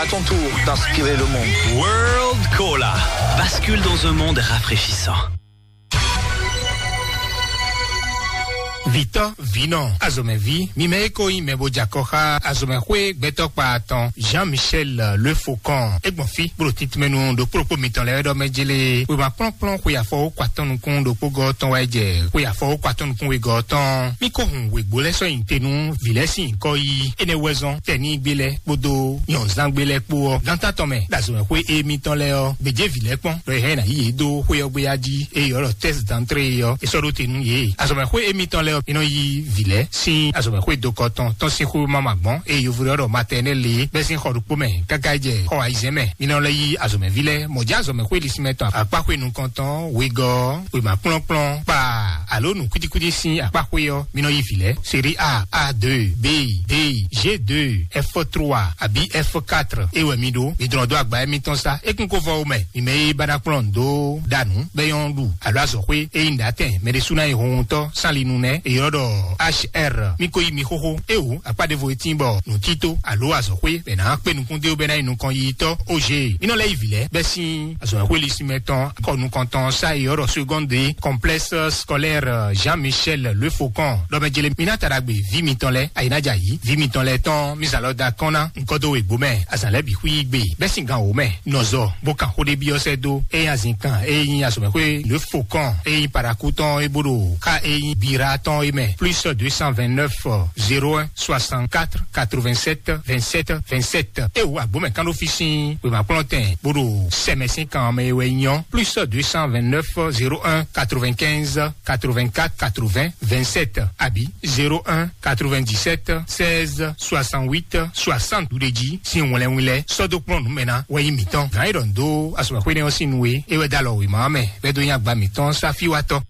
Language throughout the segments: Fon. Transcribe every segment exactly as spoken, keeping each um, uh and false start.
À ton tour d'inspirer le monde. World Cola. Bascule dans un monde rafraîchissant. Vitɔ vinɔ azɔmɛví, mi mɛ e ko nyí mɛ bo jɛ akɔ xá azɔmɛxwé gbɛtɔ́ kpa atɔn Jean Michel Le Faucon, e gbɔn fí bó ɖo titmɛnu ɖo kplɔ́kpó mitɔn lɛ́ɛ ɖɔ mɛ jélé wěma kplɔ́nkplɔ́n xwe afɔ wó kɔ atɔn nukún ɖokpó gɔ́ tɔn wá jɛ xwe afɔ wó kɔ atɔn nukún wegɔ́ tɔn. Mi ko hun wěgbó lɛ́ɛ sɔ́ nyi te nú vǐ lɛ́ɛ sín nyǐkɔ yí. Énɛ́ wɛ zɔ́n tɛnígbe lɛ́ɛ kpódó nyɔ̌nzángbe lɛ́ɛ kpó ɔ́, gánta tɔn mɛ ɖo azɔ̌mɛxwé émítɔn lɛ́ɛ ɔ́, gbějé vǐ lɛ́ɛ kpɔ́n, ɖɔ è hɛn ná yí yě dó xwé ɔ́ gbé yá jí, eye ɔ́ ɖɔ tɛ́si dantré é ɔ́, è sɔ́ ɖó te nú yě. Azɔ̌mɛxwé émítɔn lɛ́ɛ ɔ́, mi nɔ yí vǐ lɛ́ɛ sín azɔ̌mɛxwé dokɔ tɔn tɔn sín xwé máma gbɔn, eye yovo ɖɔ ɖɔ matɛnɛ́ lě bɛ́ sín xɔ ɖokpó mɛ káká yi jɛ xɔ ayizɛ́n mɛ. Mi nɔ lɛ́ yí azɔ̌mɛví lɛ́ɛ mɔ̌ jɛ azɔ̌mɛxwé lisínmɛ tɔn akpáxwé nukɔntɔn wegɔ́ wěma kplɔ́nkplɔ́n kpa alo nǔ kwítíkwítí sín akpáxwé ɔ́, mi nɔ yí vǐ lɛ́ɛ. Série A, A deux, B, D, G deux, F trois, abǐ F quatre. É wɛ mi ɖó, mi dlɔ́n dó agba émítɔn sá. É kún ko vɔ wo mɛ, mi mɛ e ba ná kplɔ́n nǔ dó ɖa nǔ, bɔ é nyɔ́ ɖu alo azɔ̌xwé e nyí nǔɖatɛn mɛ ɖésú ná nyí hunhuntɔ́ sín ali nu nɛ́. È ylɔ́ ɖɔ H R. Mi ko yí mi xóxó. É wǔ, akpá ɖěvo e tíin bɔ nǔtító alo azɔ̌xwé bɛ ná kpé nukún dó bɛ ná nyí nukɔn yiyitɔ́. Oje, mi nɔ lɛ́ yí vǐ lɛ́ɛ bɛ́ sín azɔ̌xwé lisínmɛ tɔn kɔ nukɔntɔn sá e ylɔ́ ɖɔ seconde complexe scolaire Jean Michel Le Faucon. Ɖɔ mɛ jele mi ná ta ɖagbe vǐ mitɔn lɛ́ɛ, ayi ná jɛ ayǐ. Vǐ mitɔn lɛ́ɛ tɔn mi zǎn lɔ da kɔn ná nukɔn dó wěgbó mɛ. Azǎn lɛ́ɛ bǐ xwí gbe bɛ́ sín gan wǒ mɛ. Nɔzɔ bó kan xó ɖé byɔ́ sɛ́ dó. É nyí azǐnkan, é nyí azɔ̌mɛxwé Le Faucon, é nyí Parakou tɔn, é bó ɖo xá é nyí Bira tɔn é mɛ. Plus deux cent vingt-neuf, zéro un, soixante-quatre, quatre-vingt-sept, vingt-sept, vingt-sept. É wǔ agbǒmɛ kán ɖó fí sín wěmakplɔ́ntɛn bó ɖo sɛmɛ sín kan mɛ é wɛ nyɔ́. Plus deux cent vingt-neuf, zéro un, quatre-vingt-quinze, quatre-vingt-quatre, quatre-vingts, vingt-sept, abǐ zéro un, quatre-vingt-dix-sept, seize, soixante-huit, soixante ɖuɖéjí sín wlɛnwlɛn sɔ́ dó kplɔ́n nǔ mɛ ná wɛ nyí mǐtɔn. Gǎn e ɖɔ nǔ dó azɔ̌mɛxwé nɛ́ ɔ́ sín nu e é wɛ dó alɔ wěma ɔ́ mɛ, bɔ é dó nyí agba mǐtɔn sáfíwátɔ́.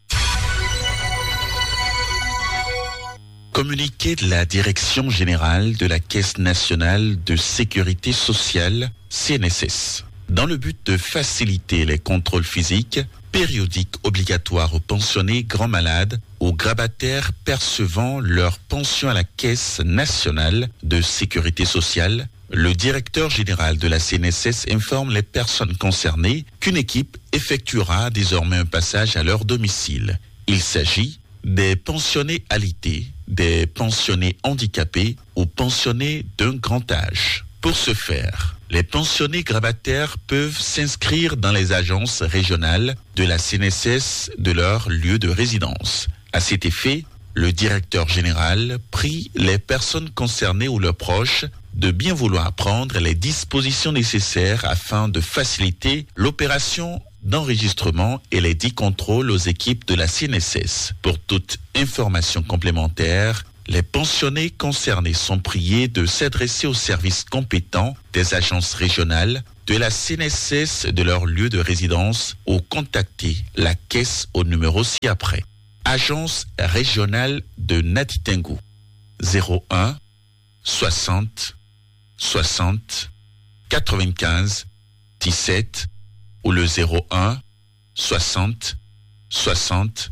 Communiqué de la Direction Générale de la Caisse Nationale de Sécurité Sociale, C N S S. Dans le but de faciliter les contrôles physiques, périodiques obligatoires aux pensionnés grands malades, aux grabataires percevant leur pension à la Caisse Nationale de Sécurité Sociale, le directeur général de la C N S S informe les personnes concernées qu'une équipe effectuera désormais un passage à leur domicile. Il s'agit des pensionnés alité, des pensionnés handicapés ou pensionnés d'un grand âge. Pour ce faire, les pensionnés grabataires peuvent s'inscrire dans les agences régionales de la C N S S de leur lieu de résidence. À cet effet, le directeur général prie les personnes concernées ou leurs proches de bien vouloir prendre les dispositions nécessaires afin de faciliter l'opération d'enregistrement et les dix contrôles aux équipes de la C N S S. Pour toute information complémentaire, les pensionnés concernés sont priés de s'adresser aux services compétents des agences régionales de la C N S S de leur lieu de résidence ou contacter la caisse au numéro ci-après. Agence régionale de Natitingou, zéro un, soixante, soixante, quatre-vingt-quinze, dix-sept, ou le zéro un, soixante, soixante,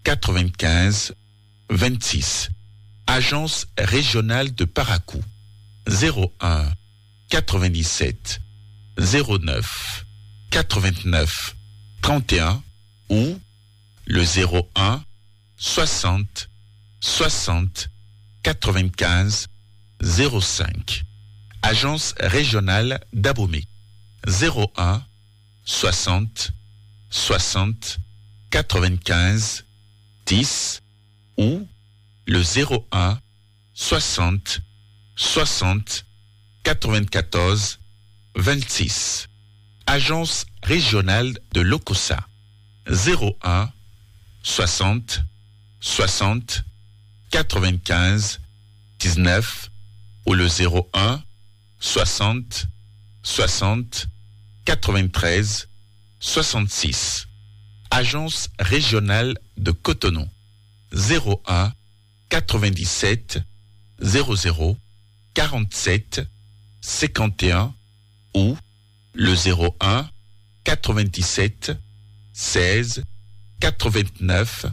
quatre-vingt-quinze, vingt-six. Agence régionale de Parakou, zéro un, quatre-vingt-dix-sept, zéro neuf, quatre-vingt-neuf, trente et un, ou le zéro un, soixante, soixante, quatre-vingt-quinze, zéro cinq. Agence régionale d'Abomey, zéro un, soixante, soixante, quatre-vingt-quinze, dix, ou le zéro un, soixante, soixante, quatre-vingt-quatorze, vingt-six. Agence régionale de l'Okossa, zéro un, soixante, soixante, quatre-vingt-quinze, dix-neuf, ou le zéro un, soixante, soixante, quatre-vingt-treize, soixante-six. Agence régionale de Cotonou, zéro un, quatre-vingt-dix-sept, zéro zéro, quarante-sept, cinquante et un, ou le zéro un, quatre-vingt-dix-sept, seize, quatre-vingt-neuf,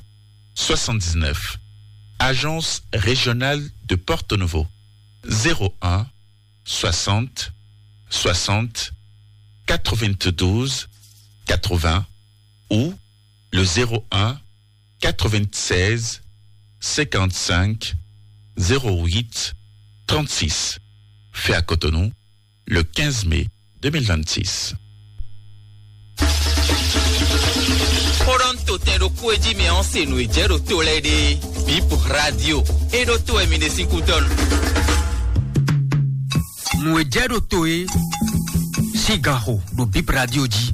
soixante-dix-neuf. Agence régionale de Porto Novo, zéro un, soixante, soixante, quatre-vingt-douze, quatre-vingts ou le zéro un, quatre-vingt-seize, cinquante-cinq, zéro huit, trente-six. Fait à Cotonou, le quinze mai deux mille vingt-six. Xó ɖɔ ń to tɛn ɖo kú e jí mi ɔ́ se nǔ e jɛ ɖo to lɛ́ɛ ɖe. Bip Radio. E ɖo to wɛ mi ɖe sín kútɔ́ nu. Nǔ e jɛ ɖo to e sín gan xo ɖo Bip Radio jí.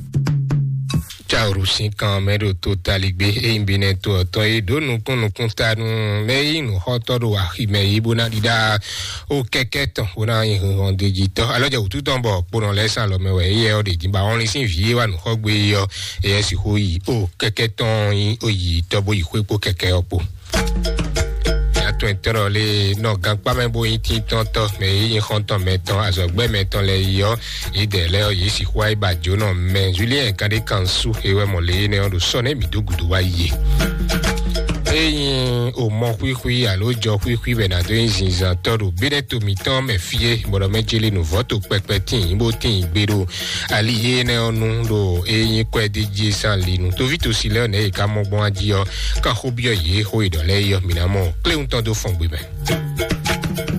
Caoru sín kan mɛ ɖo to taligbe, e nyí binɛ to ɔtɔn e ɖó nukún nukún ta nú mɛ e nyí nǔxɔtɔ́ ɖo aximɛ yí bó ná ɖiɖa o kɛkɛ tɔn bó ná nyi hɔndejitɔ́. Alɔ jɛ wǔtu tɔn bɔ kponɔ lɛ́ɛ sín alɔ mɛ wɛ éyɛ́ ɔ́ ɖe dín ba ɔnlin sín vǐ e wa nǔ xɔ gbé é ɔ́, éyɛ́ sixú yi o kɛkɛ tɔn nyi o yi tɔ́ bó yi xwé kpó kɛkɛ ɔ́ kpó. Atɔn etɔ́ lé nɔ gankpá mɛ bó nyí tíntɔ́ntɔ́ mɛ e nyí xɔ́ntɔn mɛtɔn azɔ̌gbɛ́ mɛtɔn lɛ́ɛ yi ɔ́, yědɛɛ lɛ́ɛ ɔ́, yě sixú wá yi ba jǒnɔ mɛ Julien Kandé Kansu e wɛ mɔ lě énɛ́ ɔ́ ɖo sɔ́ nɛ́ mǐ dó gǔdo wá yi é. Ényí o mɔ xwíxwí alo jɔ xwíxwí bɛ ná dó nyí zinzantɔ́ ɖo béɖɛ́ to mǐtɔn mɛ fí é, bɔ ɖɔ mɛ jeli nǔvɔ́ to kpɛkpɛ tíin bó tíin gbe ɖo ali énɛ́ ɔ́ nu ɖo ényí kwɛ́ dí jí sán li nu. Toví tosi lɛ́ɛ ɔ́ nɛ̌ yě ká mɔ gbɔn jí ɔ́, ká xó byɔ́ yě xó e ɖɔ lɛ́ɛ yi ɔ́, mǐ ná mɔ kléwúntɔn dó fɔn gbe mɛ.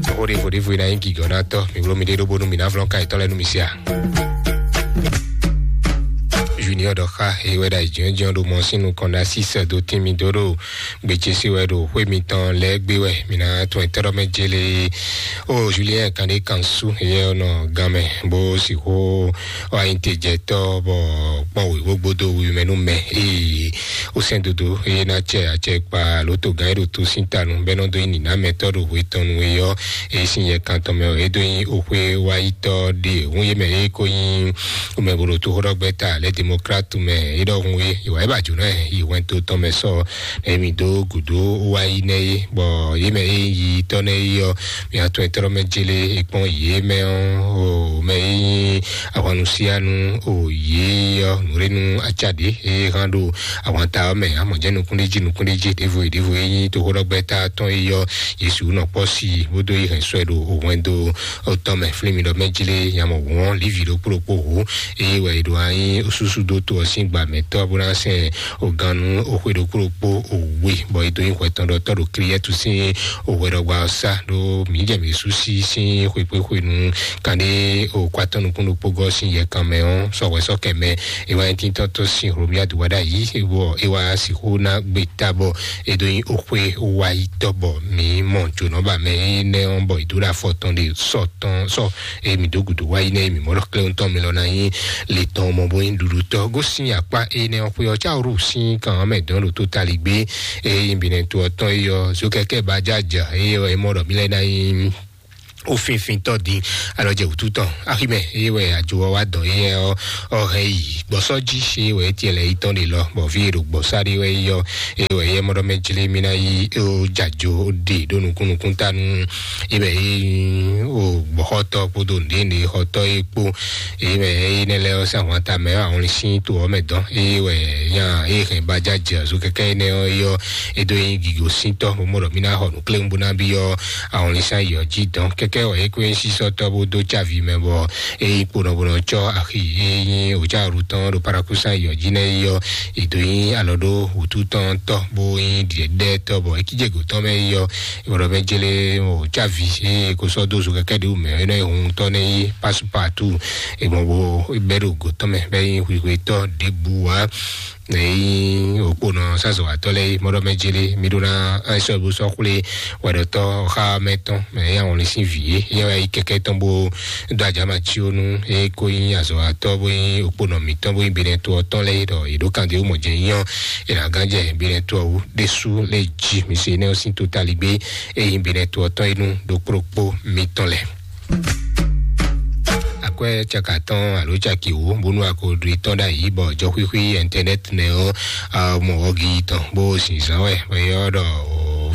Xó ɖěvo ɖěvo e ná nyí gǐgɔ́ ná tɔ́, mǐ bló mi ɖé ɖó bónú mǐ ná vlɔ́n ka yětɔn lɛ́ɛ nú mi se a? Junior ɖɔ xá e wɛ ɖo ayǐjínjɔ́n ɖo mɔ sín nukɔn ná sísɛ dó tín mi dó ɖo gbèjésí wɛ ɖo xwé mitɔn lɛ́ɛ gbé wɛ. Mǐ ná tún ɛtɛ́ɖɔ́ mɛ jélé. O Julien Kandé Kansu, yɛ ɔ́ nɔ gan mɛ bó sixú wá nyí tejɛtɔ́ bɔ kpɔ́n wěwó gbódó wiwi mɛ nú mɛ. Ee, ó sɛn dodo eye ná cɛ acɛ kpa lǒ togán e ɖo tó sín ta nu bɛ́ nɔ dó nyí nǐnámɛtɔ́ ɖo hwe tɔn nu e ɔ́, e sín yɛ kan tɔn mɛ ɔ́, é dó nyí oxwé wáyítɔ́ ɖe hǔn yě mɛ e ko nyí mɛ bo ɖo toxóɖɔgbɛ́ta lɛ́ demokratu mɛ é ɖɔhun é, ìwà é ba jǒnɔ ɛ yi hwɛndo tɔn mɛ sɔ emi dó gǔdo wáyí nɛ́ é, bɔ yě mɛ e yi tɔ́ nɛ́ é ɔ́, mǐ atɔn etɔ́ mɛ jélé e kpɔ́n yě mɛ ɔ́, o mɛ e nyí ahwannusianu o yě ɔ́, nǔɖénu acá ɖě e hán ɖo ahwanta ɔ́ mɛ, amɔ̌ jɛ́n nukúnɖéjí nukúnɖéjí ɖěvo e ɖěvo e nyí toxóɖɔgbɛ́ta tɔn é ɔ́, Yesu nɔ kpɔ́ si bó dó yi hɛn sɔ́ ɛ ɖo hwɛndo tɔn mɛ. Flín mi ɖɔ mɛ jlé yamɔ hǔn ɔ́, Livi ɖokpó ɖokpó hǔ, eye wɛ è ɖo anyi súsú dó to ɔ́ sín gba mɛ̌tɔ́ bó ná sɛn ògannú òxwe ɖokpó ɖokpó òwe, bɔ è dó nyi hwɛtɔn ɖɔ tɔ́ ɖo Kliyɛ́tu sín òhwɛɖɔgba ɔ́ sá ɖó mǐ jɛ mǐ sú sí sín xwekpéxwenu kanɖé òkwatɔ́ nukún ɖokpó gɔ́ sín yɛkan mɛ ɔ́, sɔhwɛ sɔ́ kɛ mɛ. È wá nyí tíntɔ́ntɔ́ sín Hlomia dó wá ɖ'ayǐ, bɔ é wá sixú ná gbe ta bɔ é dó nyí òxwe wáyítɔ́ bɔ mǐ mɔ jǒnɔba mɛ énɛ́ ɔ́, bɔ è dó ɖo afɔ tɔn ɖe sɔ tɔn sɔ, eye mǐ dó gǔdo wá yi nɛ́, mǐ mɔ ɖɔ klɛ́wúntɔn mi lɔ ná nyí le tɔn mɔ bó nyí ɖuɖutɔ́. Gosín akpá énɛ́ ɔ́ xwé ɔ́, cáwǔ rú sín kan ɔ́ mɛ dɔn ɖo tó tali gbé, eye bǐnɛ́ to ɔ́ tɔn é yɔ zokɛkɛ ba jájà, eye wɛ é mɔ ɖɔ mí lɛ́ ná nyí ó fínfíntɔ́ dín alɔ jɛ wǔtu tɔn. Aximɛ eye wɛ ajo ɔ́ wá dɔn éyɛ́ ɔ́, ɔ hɛn yi gbɔsɔ jí, eye wɛ étiɛ lɛ yi tɔn ɖe lɔ, bɔ fí e ɖo gbɔsá ɖe wɛ yi ɔ́, eye wɛ yɛ mɔ ɖɔ mɛ jlé mí ná yi ó jajo ɖe ɖó nukún nukún ta nú eye mɛ yi ó gbɔxɔtɔ kpódó nǔɖé nǔɖé xɔtɔ é kpó. Eye mɛ yi nɛ lɛ ɔ́ sɛn ahwan ta mɛ ɔ́, ahɔn sín to ɔ́ mɛ dɔn, eye wɛ nya eye hɛn ba jájɛ azú kɛkɛ énɛ́ ɔ́, é ɔ́ é dó nyí gǐgó síntɔ́, bó mɔ ɖɔ mí ná xɔ nǔ kléwún bó ná byɔ́ ahɔnlínsán yi ɔ́ jí dɔn. Kɛkɛ wɛ é kó nyí sísɔ́tɔ́ bó dó cávi mɛ bɔ é nyí kponɔbonɔ cɔ́ axi e nyí òcáhɔ́ɖu tɔn ɖo Parakúsán yi ɔ́ jí nɛ́ yi ɔ́, è dǒ nyí alɔ ɖó wǔtu tɔn tɔ́ bó nyí ɖiɖɛɖɛ́tɔ́ bɔ é kíjé gǒ tɔn mɛ yi ɔ́, é bɔɖɔ mɛ jélé òcávi e kó sɔ́ dó zo kɛkɛ́ ɖě wú mɛ é nɔ nyí hun tɔ́ nɛ́ yí pásupátu. È gbɔn bó bɛ́ ɖo gǒ tɔn mɛ bɛ́ nyí hwihwetɔ́ ɖěbǔ wá. Eyi òkponɔ sazɔwatɔ lɛ yi mɔɖɔ mɛ jele mi ɖo na ɛsɔ bo sɔ xwle wɛɖɔtɔ xa mɛ tɔn mɛ ya wɔn lɛ sin vi ye ya yi kɛkɛ tɔn bo do ajama tsi onu e ko yi azɔwatɔ bo yi òkponɔ mi tɔn bo yi benɛ to ɔtɔn lɛ yi ɖɔ yi ɖo kan de wo mɔ jɛ nyɔ ena gan jɛ benɛ to awu ɖesu lɛ ji mi se ne o sin to tali gbe eyi benɛ to ɔtɔn yi nu ɖo kplokpo mi tɔn lɛ. Akwɛ caka tɔn alo caki wo bonu akoɖi tɔn ɖe ayi bɔ jɔxwixwi internet nɛ ɔ mɔ ɔgi tɔn bo sinzan wɛ bɔ yɔ ɖɔ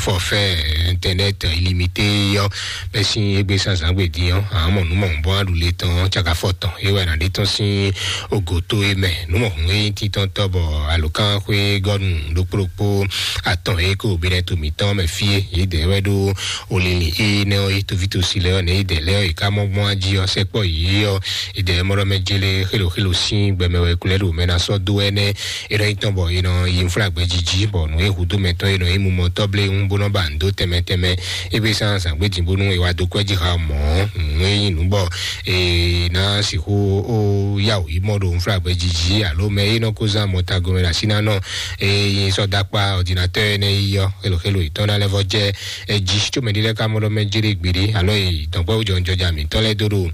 forfait internet illimité ɔ́, bɛ́ sín égbé sánzǎn gbe dín ɔ́, àmọ́ nǔ mɔ̌hunkɔtɔn aɖu le tɔn cakafɔ tɔn é wɛ nǎ ɖe tɔn sín ogoto é mɛ. Nǔ mɔ̌hun é nyí títɔ́ntɔ́ bɔ alǒkanxwé gɔ́nu ɖokpó ɖokpó atɔn é ko bínɛ́ to mǐtɔn mɛ fí é, yě dɛ wɛ ɖó olili é nɛ́ ɔ́, é toví tosi lɛ́ɛ ɔ́, nɛ yě dɛ lɛ́ɛ ɔ́, yě ká mɔ gbɔn ají ɔ́, sɛkpɔ́ yě ɔ́, yě dɛ mɔ ɖɔ mɛ jélé xélo xélo sín gbɛmɛ wɛ kulɛ ɖo mɛ ná sɔ́ dó ɛnɛ́. É nɔ nyí tɔn bɔ è nɔ yi nflágbɛ́ jí jí, bɔ nǔ e hudó mɛtɔn e nɔ nyí mumɔtɔ́ bléwún bó nɔ ba nǔ dó tɛnmɛ tɛnmɛ. É gbé sán zǎngbéjì bónú è wá dó kwɛ́ jí xa mɔ̌, nǔ e nyí nǔ bɔ è nǎ sixú ó yá wǔ yi mɔ ɖo nflágbɛ́ jí jí, alo mɛ e nɔ ko zán mɔtago mɛ ɖo así ná nɔ e nyi sɔ́ dó akpá ɔdinatɔ́ énɛ́ yi ɔ́, xelo xelo yětɔn ná lɛ́ vɔ jɛ ɛ jí, có mɛ ɖé lɛ́ɛ ka mɔ ɖɔ mɛ jlé gbeɖé, alo e dɔ̌nkpɛ́ wú jɔnjɔja mǐtɔn lɛ́ɛ dó ɖo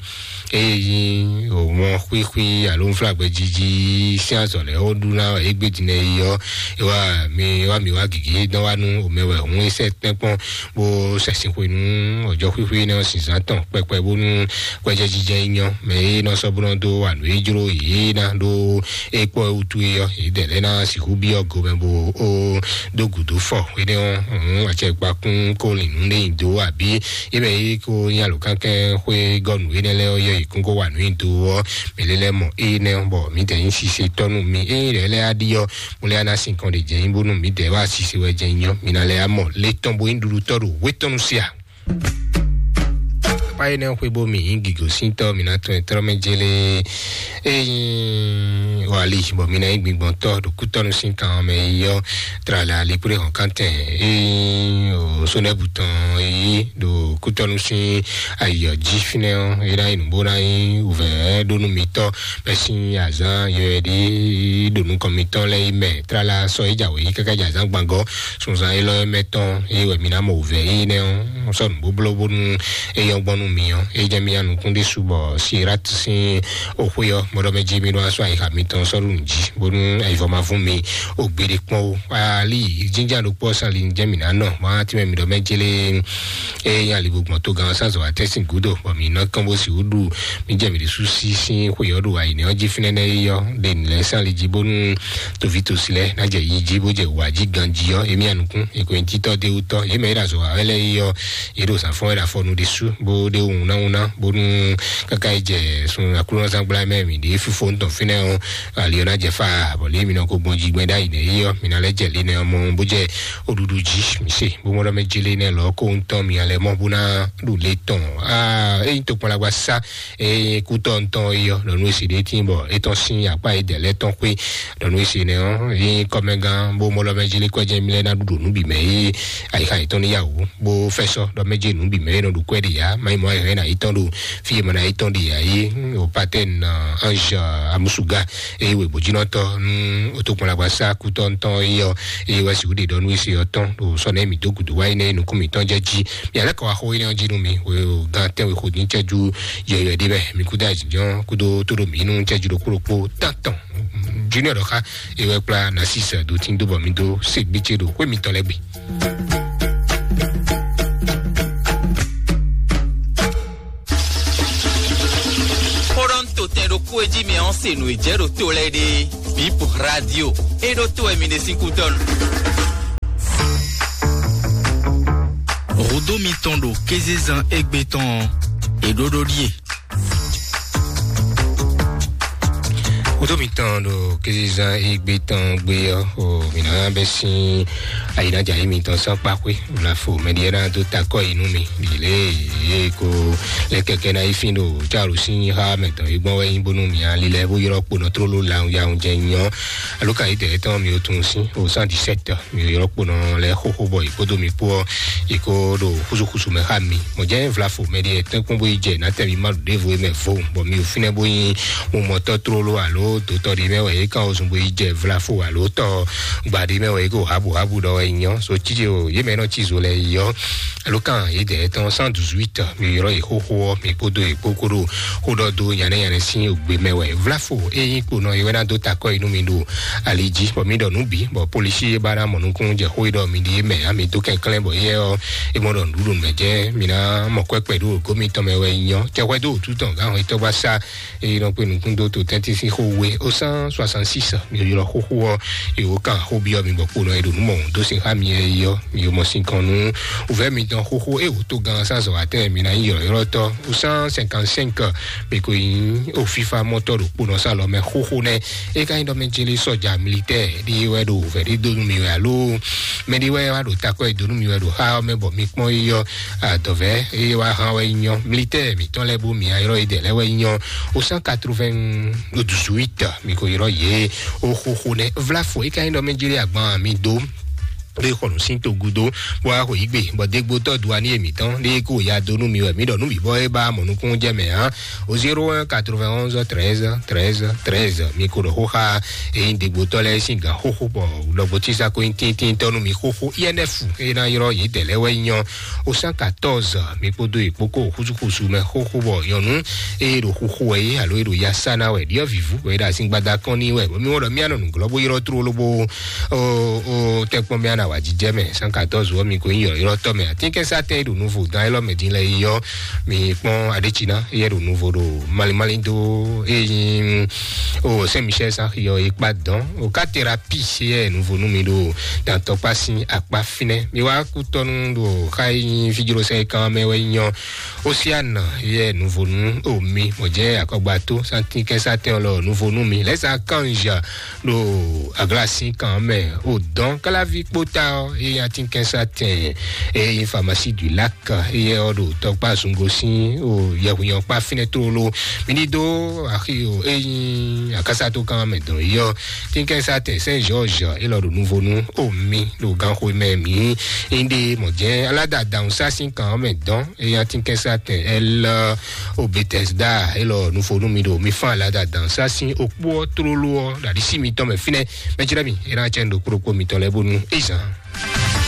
eye yi òmɔ xwíxwí alo nflágbɛ jiji sín azɔ̌ lɛ́ɛ ó ɖu ná égbé din ɛ yi ɔ́, é wá mi é wá mi wá gěgé dán wá nú òmɛ wɛ hǔn é sɛ́ tɛ́nkpɔ́n bó sɛ́sìn xwe nú ɔjɔ́ xwíxwí énɛ́ ɔ́ sin zán tɔn kpɛkpɛ bónú kwɛjɛ jijɛ yi nyɔ́ mɛ é nɔ sɔ́ bó nɔ dó wa nǔ é jló yě ná ɖó é kpɔ́ é wútu é ɔ́, yě dɛ lɛ́ɛ ná sixú byɔ́ gomɛ bó ó dó gǔdo fɔ énɛ́ ɔ́, hǔn acɛkpakún kó lin nǔ lé nyi dó abǐ é mɛ é ko nyí alǒkankɛn xwé gɔ́ nǔ énɛ́ lɛ́ɛ ɔ́ yɔ yě kún kó wa nǔ nyi do ɔ́, mɛ lɛ́ lɛ́ mɔ énɛ́ ɔ́, bɔ mǐdɛɛ nyí sise tɔ́ nú mi. Ényí lɛ́ɛ lɛ́ɛ á ɖi ɔ́, mo lɛ́ ná sin kɔn ɖě jɛ nyí bónú mǐdɛɛ wá sise wɛ jɛ nyí ɔ́, mi ná lɛ́ á mɔ lě tɔn bo nyí ɖuɖutɔ́ ɖo hwé tɔn nu sia. Pá énɛ́ xwé bó mi nyí gǐgosíntɔ́, mi ná tɔn ɛ tlɔ́ mɛ jélé. Ényí wali bɔ mi ná nyí gbigbɔntɔ́ ɖo kútɔ́nu sín kan mɛ yi ɔ́, tlala likplé hɔn kántɛn ényí o sónɛ́bù tɔn yi ɖo kútɔ́nu sín ayɔ jí fínɛ́ ɔ́, é ná nyí nǔgbó ná nyí wǔvɛ́ ɖó nú mitɔ́ bɛ́ sín azǎn yɔyɔ̌ɖi ɖo nukɔn mitɔn lɛ́ɛ yi mɛ. Tlala sɔ é jǎwe yí káká jɛ azǎn gbangɔ sunzan élɔ́ mɛ tɔn é wɛ mi ná mɔ wǔvɛ́ énɛ́ ɔ́ sɔ́ nǔ bóbló bónú é nyɔ́ gbɔn nú mi ɔ́, é jɛ mi nukún ɖésú bɔ Sirat sín oxwé ɔ́, mɔɖɔ mɛ jí mi ɖó asɔ ayixa mitɔn sɔ́ ɖo nǔ jí bónú ayivɔ ma vún mi o gbeɖé kpɔ́n o. Ali jínjá ɖokpó ɔ́ sali jẹ́ mi ná nɔ má tí mɛ mi ɖɔ mɛ jélé é nyí ali gbogbo tó gan sázɔ atɛ́sìn gúdo bɔ mi nɔ kán bó si wú ɖu mi jɛ mi ɖésú sí sín xwé ɔ́ ɖo ayǐnɛ ɔ́ jí fínɛ́ nɛ́ é yɔ ɖe nǔ lɛ́ɛ sán ali jí bónú toví tosi lɛ́ɛ ná jɛ yi jí bó jɛ wǎ jí ganjí ɔ́, émí anukún èkó nyí títɔ́ dé wútɔ́ yě mɛ é ɖo azɔ̌ wa wɛ lɛ́ɛ é yɔ yě ɖo zǎn fɔ́n wɛ ɖo afɔnu ɖésú bó ɖé wunnáwunná bónú káká yi jɛ sun aklúnɔzángbla mɛ mi ɖě fífó ŋutɔn fínɛ́ ɔ́, ali ɔ́ ná jɛ fá bɔ lě mi nɔ ko gbɔn jí gbɛn ɖ'ayǐ nɛ é yɔ mi ná lɛ́ jɛ lě nɛ ɔ́ mɔ bó jɛ oɖuɖu jí mi se bó mɔ ɖɔ mɛ jélé nɛ lɔ kó ŋutɔn mi alɛ mɔ bó ná ɖu lě tɔn. Aa eyi tó kpɔn lagba sá eye kútɔ ŋutɔn é yɔ lɔnu esi ɖé tín bɔ étɔn sín akpá yi dɛ lɛ tɔn xwé lɔnu esi nɛ ɔ́ yi kɔmɛgán bó mɔ lɔ mɛ jélé kɔjɛ mi lɛ ná ɖuɖu nú bi mɛ yi ayixa yětɔn ní yàwó bó fɛsɔ ɖɔ mɛ jɛ nǔ bi mɛ yi nɔ ɖu kwɛ ɖi ya mayi mɔ ayixa yi na yi tɔn ɖo fi yi mɔ na yi tɔn ɖi ya yi o patɛn ange amusuga eye wɛ bòjínɔtɔ nú otokpɔnlagba sá kútɔ ŋutɔn yi ɔ eye wɛ si wúɖe ɖɔ nú esi ɔtɔn ɖo sɔ nɛ mi dó gudu wáyi nɛ nukún mi tɔn jɛ jí mi alẹ́ kɔ wá xó yi nɛ jí nú mi o gan tɛn wɛ xó ní cɛjú yɔyɔ ɖi bɛ mi kúdó àjìjɔ kúdó tó ɖo mi nú cɛjú ɖokpó ɖokpó tán tɔn junior ɖɔ xá ewɛ kpla nasis do tí ń dó bɔ mi dó ségbétsé ɖo xwé mitɔn lɛ gbe. Xó ɖɔ ń to tɛn ɖokpó e jí mi ɔ́ se nǔ e jɛ ɖo to lɛ́ɛ ɖe bip radio e ɖo to wɛ mi ɖe sín kútɔnu. Rodo mitɔn ɖo kézezan égbé tɔn ɔ́, è ɖó ɖó ɖíe. Wodó mitɔn ɖo kézezan égbé tɔn gbé ɔ́, o mǐ ná bɛ́ sín ayǐnájà yí mitɔn sán kpáxwé vlafo mɛɖiɛ ná dó takɔ yi nú mi ɖi lě e ko lɛ kɛkɛ ná yi fín ɖo cálu sín xá mɛtɔn yi gbɔn wɛ nyí bónú mi ali lɛ bó ylɔ́ kponɔ tlóló lawun yawun jɛ nyɔ alo kan yi tɛ tɔn mi o tun sín o cent dix-sept mi ylɔ́ kponɔ lɛ xóxó bɔ yi kpódó mi kpó ɔ́ yi kó ɖo xúsúxúsú mɛ xá mi mɔ jẹ́ vlafo mɛɖiɛ tɛ́nkpɔ́n bó yi jɛ nátɛ̀mí má ɖo ɖěvo yi mɛ vo bɔ mi o fínɛ́ bó nyí mumɔtɔ́ tlóló alo dotɔ ɖi mɛ wɛ yi kan o zun bó yi jɛ vlafo alo tɔ gba ɖi mɛ wɛ yi kó habu habu ɖɔ wɛ nyɔ so títí o yé mɛ nɔ tí zo lɛ yɔ alo kan yi dɛ tɔn cent dix-huit mi ylɔ́ yi xóxó ɔ́ mi kpódó yi kpó kó ɖo xó ɖɔ dó nyanɛ nyanɛ sín ògbé mɛ wɛ vlafo e nyí kponɔ yi wɛ ná dó takɔ yi nú mi ɖo ali jí bɔ mi ɖɔ nǔ bǐ bɔ polisi e ba ná mɔ nukún jɛ xó yi ɖɔ mi ɖi mɛ ami dó kɛnklɛn bɔ yɛ ɔ́ e mɔ ɖɔ nǔɖuɖu mɛ jɛ mi ná mɔ kwɛkpɛ ɖo gómitɔn mɛ wɛ nyɔ cɛxwɛ dó òtú tɔn gán xɔ itɔgba sá e nɔ kpe nukún dó to tɛntín sín xó We o cent soixante-six, mi ylɔ xóxó ɔ́, e wò kan xó byɔ́ mi bɔ kponɔ e ɖo nǔ mɔ dó sin xá mi ɛ yi ɔ́, mi mɔ sin kɔn nú wǔvɛ́ mitɔn xóxó e wò tó gan sán zɔ atɛ mi ná nyí ylɔ̌ylɔ́tɔ́. O cent cinquante-cinq, mi ko nyí o fífá mɔtɔ ɖo kponɔ sá lɔ mɛ xóxó nɛ. E ka nyí ɖɔ mɛ jeli sɔja militɛ ɖi wɛ ɖo wǔvɛ́ ɖi dó nú mi wɛ alo mɛ ɖi wɛ wá ɖo takɔ e dó nú mi wɛ ɖo xá ɔ́ mɛ bɔ mi kpɔ́n yi ɔ́, adɔvɛ eye wá hán wɛ nyɔ militɛ mitɔn lɛ bó mi ayɔrɔ yi dɛ lɛ wɛ nyɔ o cent quatre-vingt-dix-huit, mi ko yrɔ ye o xoxo nɛ vlafo e ka nyí ɖɔ mɛ jeli agban mi do ɖe xɔnu sin to gudo bó wá xɔ yí gbe bɔ dégbótɔ duani èmítɔn ɖe kó ya do nú mi wɛ mi ɖɔ nú mi bɔ e ba mɔ nukún jɛ mɛ hã o zéro un quatre-vingt-onze treize treize treize, mi ko ɖɔ xóxa eyin dégbótɔ lɛ sin gan xóxó bɔ lɔgbó tísa ko yin tíntínntɔ́ nú mi xóxó I N F e ná yrɔ yě dɛ lɛ wɛ nyɔ o cent quatorze, mi kpódó yi kpókó xúsúxúsú mɛ xóxó bɔ nyɔnu eye ɖo xuxu wɛ yé alo e ɖo ya sá ná wɛ ɖiɔ vivu wɛ ɖo asin gbada kɔn ní wɛ bɔ mi wɔ ɖɔ mi anɔ nuglɔ bó yrɔ tró lobo o o tɛkpɔn mi ana wa jijɛ mɛ cent quatorze wɔ mi ko yin yɔ yrɔ tɔ mɛ atin kɛsa tɛ ɖo nuvo dan elɔ mɛ din lɛ yi yɔ mi kpɔn adetsina yɛ ɖo nuvo ɖo malimali do eyin o Saint Michel san yɔ ikpa dɔn o katera pi yɛ nuvo nu mi ɖo dantɔkpa sin akpa finɛ mi wa kutɔnu ɖo xa yin fijlosɛ kan mɛ wɛ nyɔ Osiana yɛ nuvonu omi mɔjɛ akɔgbato santikɛsatɛn lɔ nuvonu mi lɛsa kanja ɖo aglasi kan mɛ o dɔn kalavi kpota ɔ eye atikɛsatɛn eye famasi du lak eye ɔ ɖo tɔkpa zungosin o yɛhunyɔkpa finɛ tlolo mi ni do axi o eyin akasato kan mɛ dɔn yɔ tikɛsatɛn sɛn jɔjɔ elɔ ɖo nuvonu omi ɖo ganxo mɛ mi inde mɔjɛ alada dawun sasin kan mɛ dɔn eye atikɛsatɛn ɛlɔ o Betesda elɔ nufonu mi ɖo mi fan alada dan sasin okpo ɔ tlolo ɔ ɖaɖisi mitɔn mɛ finɛ mɛtsirɛ mi ena tsɛ ɖo kplokpo mitɔn lɛ bonu ezan